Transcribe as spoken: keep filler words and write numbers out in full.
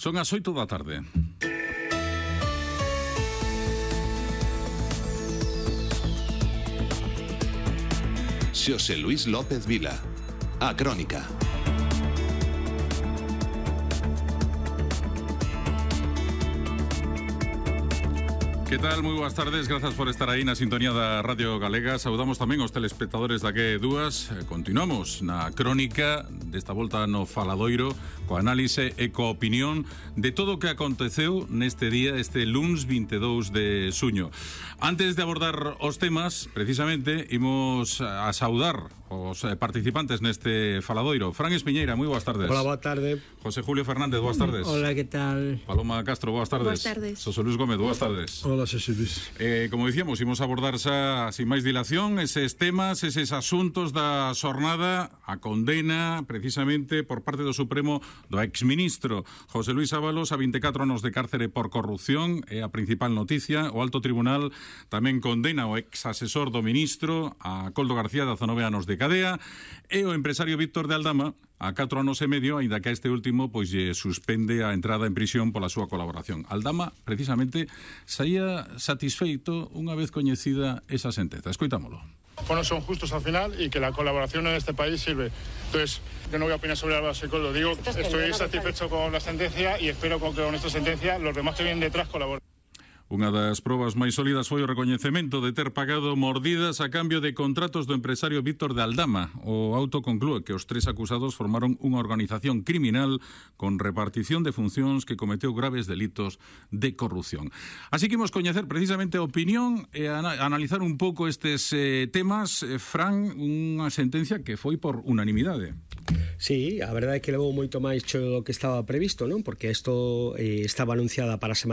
Son as oito da tarde. Xosé Luís López Vila, A Crónica. Que tal? Moi boas tardes, grazas por estar aí na sintonía da Radio Galega. Saudamos tamén os telespectadores da que dúas. Continuamos na crónica desta volta no Faladoiro, coa análise e coa opinión de todo o que aconteceu neste día, este luns vinte e dous de xuño. Antes de abordar os temas, precisamente, imos a saudar os participantes neste Faladoiro. Fran Espiñeira, moi boas tardes. Hola, boa tarde. José Julio Fernández, boas tardes. Hola, que tal? Paloma Castro, boas tardes. Boas tardes. José Luis Gómez, boas tardes. Hola, Xosé Luis. Eh, como dicíamos, imos abordar xa, sin máis dilación, eses temas, eses asuntos da xornada, a condena, precisamente, por parte do Supremo do exministro José Luis Ábalos a vinte e catro anos de cárcere por corrupción. É a principal noticia. O Alto Tribunal tamén condena o ex-asesor do ministro, a Koldo García, de dezanove anos de cadea, e o empresario Víctor de Aldama a catro anos e medio, aínda que a este último pois lle suspende a entrada en prisión pola súa colaboración. Aldama, precisamente, saía satisfeito unha vez coñecida esa sentenza. Escoitámolo. Bueno, son justos al final y que la colaboración en este país sirve. Entonces, yo no voy a opinar sobre Álvaro Coldo. Digo, estoy satisfecho con la sentencia y espero que con esta sentencia los demás que vienen detrás colaboren. Unha das probas máis sólidas foi o recoñecemento de ter pagado mordidas a cambio de contratos do empresario Víctor de Aldama. O auto conclúe que os tres acusados formaron unha organización criminal con repartición de funcións que cometeu graves delitos de corrupción. Así que imos coñecer precisamente a opinión e a analizar un pouco estes eh, temas. Eh, Fran, unha sentencia que foi por unanimidade. Sí, a verdade é que levou moito máis cho do que estaba previsto, non? Porque isto eh, estaba anunciada para a semana